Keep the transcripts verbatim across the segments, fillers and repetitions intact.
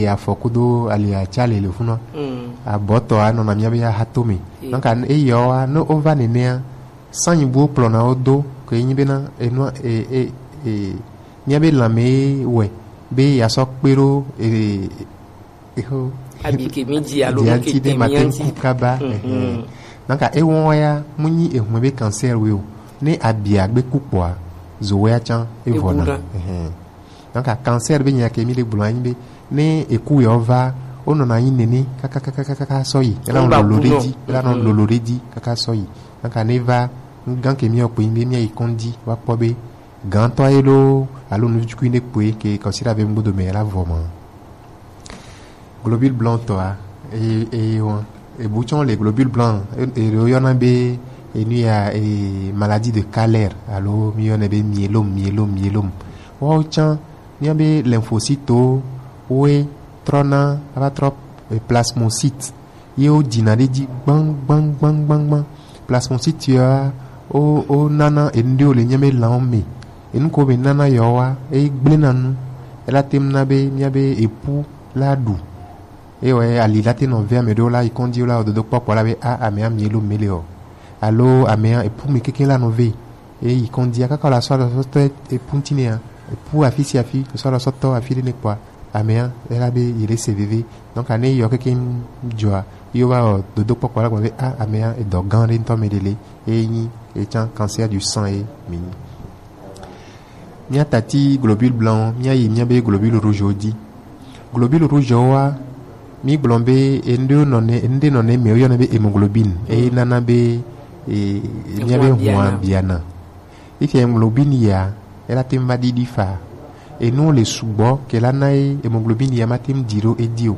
afɔ kudo ali atsa le le funu. Mm. Abɔtɔ anɔna míabe ahatome. Ye. Donc, an-, eyɔ wa, ne wova nenea, sanyibuwo kplɔna wo do, ke nyi bena, enua, e, e, e, míabe lãme wɛ, be yeasɔ kpe ɖo, e, e, ho. Abi ke mi dzi alo dzi nu ke aŋuti ɖe te mate mi ŋu aŋuti. Ku kaba. Mhm. Ɛhɛn. Donc, ewɔ ya, mu nyi ehun be cancer we o. Ne abia gbe ku kpɔa, zo wɛ atsã, evɔna. Evɔna. Ɛhɛn. Donc, cancer be nya ke mi le gblɔ anyi be, ne eku yɔ va, wonɔna anyi nene, kaka, kaka, kaka, kaka sɔ yi. Ela nɔ lolo ɖe dzi, ela nɔ lolo ɖe dzi, kaka sɔ yi. Donc, ne va, gan ke mi yɔ kpe be mi yi kɔndzi, wa kpɔ be, gantɔ ye lo, alo nu tukui ne kpe, ke kɔsi la be ŋgbodo me la vɔ ma. Globule blanc tɔa, e, e, wɔn, ebu tsɔn le globule blanc, e, e, ɖewo yɔna be, enu ya, e, maladie de Kaller, alo mi yɔnɛ be myélome, myélome, myélome. Wɔwo tsã, míabe lymphocyte woe trɔna, ava trɔ, e, plasmocyte. Ye wo dzina ɖe dzi gbãn, gbãn, gbãn, gbãn, gbãn. Plasmocyte ya, wo, wo nana enu ɖewo le míabe lãwo me. Enu ko be nana yewo wa, e gblẽna nu. Ela te ŋu na be míabe epu la ɖu. Eye wɔ ali la te nɔ ve ame ɖewo la yi kɔndzi wo la wɔ dodokpɔ kpɔ la be, a, amea myélome le o. Alo amea epu me kekeŋ la nɔ ve. Eyi kɔndzia kaka wòle asɔ alɔsɔtɔ epu ŋuti nɛa, epu afi sia afi, sɔ alɔsɔtɔ afi ɖe ne kpɔa, amea ela be yeɖe se veve. Donc, ne eyɔ kekeŋ dzɔa, ye wova wɔ dodokpɔkpɔ la gblɔ be, a, amea edɔ gã ɖe ŋutɔ me ɖe le, eye nyi etsã cancer du sang ye mi nyi. Mía tati globule blanc, mía yi mía be globule rouge wo dzi. Globule rouge woa, mi gblɔ be enu ɖe nɔ ne, enu ɖe nɔ ne me woyɔna be hémoglobine, eye nana be, e, mía be hua biana. Efi hémoglobine ya, ela te ŋu va ɖiɖi fa. Enu le sugbɔ ke la na ye hémoglobine ya ma te ŋu ɖi ɖo edzi o.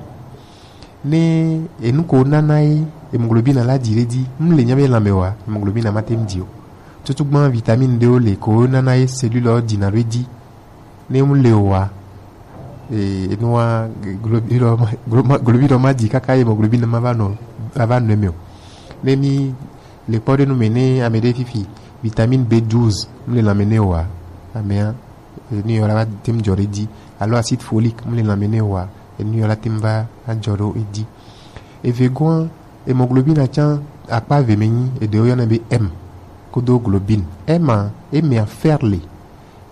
Ne enu ko nana ye hémoglobine la ɖi ɖe edzi, mu le mía be lãme wa, hémoglobine ma te ŋu ɖi o. Tutugbã vitamine ɖewo le ko nana ye cellule wo ɖina ɖo edzi. Ne mu le o wa, e, enua, globule ma, glo-, ma, globule ma ɖi kaka hémoglobine ma va nɔ, ava nɔ eme o. Ne mi le kpɔ ɖe nu me ne ame ɖe fifi, vitamine B douze, mu le lãme ne o wa, amea, e, nu yɔ la va te ŋu dzɔ ɖe edzi, alo acide folique, mu le lãme ne o wa, enu yɔ la te ŋu va adzɔ ɖo edzi. Eve goa, hémoglobine tsã akpa eve me nyi, eɖewo yɔna be M, kudo globine. M a, emea fer le.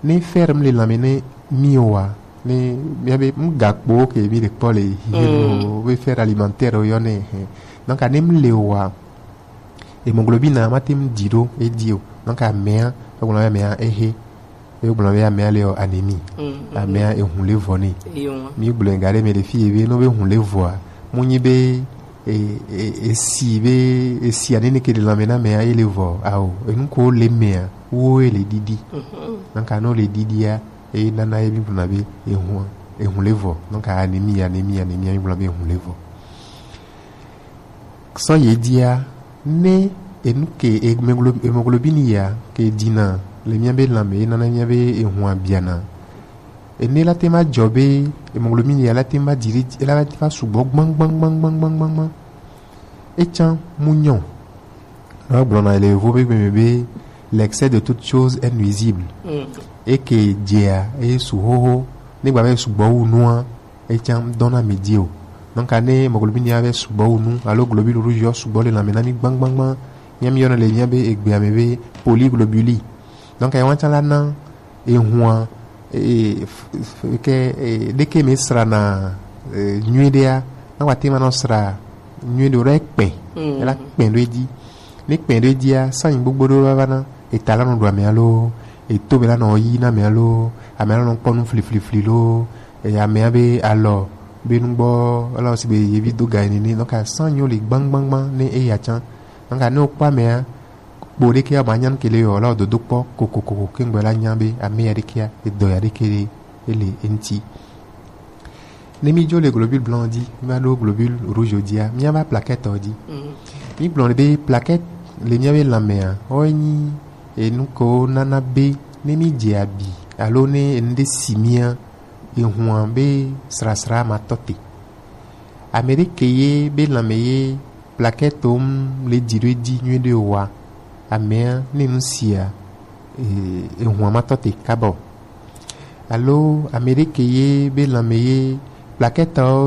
Ne fer mu le lãme ne mi o wa, ne mía be nu gakpowo ke mi le kpɔ le hihi nu o, be fer alimentaire wo yɔnɛ, hɛn. Donc, ne mu le o wa, hémoglobine ma te ŋu ɖi ɖo edzi o. Donc, amea, egblɔ be amea ehe. Egblɔ be amea le wɔ anémie. Mm, mm. Amea ehun le vɔ nɛ. Eyo. Mi gblɔ ga ɖe me ɖe fi ye be no be hun le vɔa, mu nyi be, e, e, esi be, esi anene ke le lãme na amea ye le vɔ. Ao, enu ko le mea, wo ye le ɖiɖi. Mhm. Donc, no le ɖiɖia, e nana ye mi gblɔ be ehun, ehun le vɔ. Donc, anémie, anémie, anémie, mi gblɔ be ehun le vɔ. Sɔ ye dzia, ne enu ke hemoglo-, hémoglobine ya ke ɖina le mía be lãme, ye nana mía be ehua biana. Ene la te ma dzɔ be hémoglobine ya la te ma ɖi ɖe, la te va sugbɔ gbãn, gbãn, gbãn. Etsã mu nyɔ. Na gblɔna le yovo be gbe me be, l'excès de toute chose est nuisible. Mm. Eke dzea, e su xoxo, ne gba be sugbɔ wu nua, etsã dɔna mi dzi o. Donc, ne hémoglobine ya vɛ sugbɔ wu nu, alo globule rouge yɔ sugbɔ le lãme na mi gbãgbãgbã, mía mi yɔna le mía be egbea me be polyglobulie. Donc, ewa tsã la na ehua, e, f-, f-, ke, e, ɖeke me srana, e, nyuiɖea, na wa te ma nɔ sra nyuiɖe o ɖe kpɛ, mm, ela kpɛ ɖo edzi. Ne kpɛ ɖo edzia, sanyi gbogbo ɖo va va na, eta la nɔ ɖu ame alo, eto me la nɔ yi na ame alo, ame la nɔ kpɔ nu fliflifli lo, e, amea be alɔ be nugbɔ, ela wo si be yevi do ga ene ne. Donc, asanyiwo le gbãgbãgbã ne eya tsã. Donc, ne wokpɔ amea, kpo ɖekea ma nya nu ke le yɔ, la wo dodo kpɔ kokokoko ke ŋgbɔ la nya be ame ya ɖekea, edɔ ya ɖeke ɖe ele eŋuti. Ne mi dzo le globule blanc dzi, mi va ɖo globule rouge dzia, mi va plaquette dzi. Mm. Mi gblɔ be plaquette le mía be lãmea, wo nyi enu ko nana be ne mi dze abi alo ne enu ɖe si mía, ehua be srasra ma tɔ te. Ame ɖe ke ye be lãme ye plaquette ŋu le dzi ɖo edzi nyuiɖe o wa, amea ne nu sia, e, ehua ma tɔ te kaba o. Alo ame ɖe ke ye be lãme ye Laketɔwo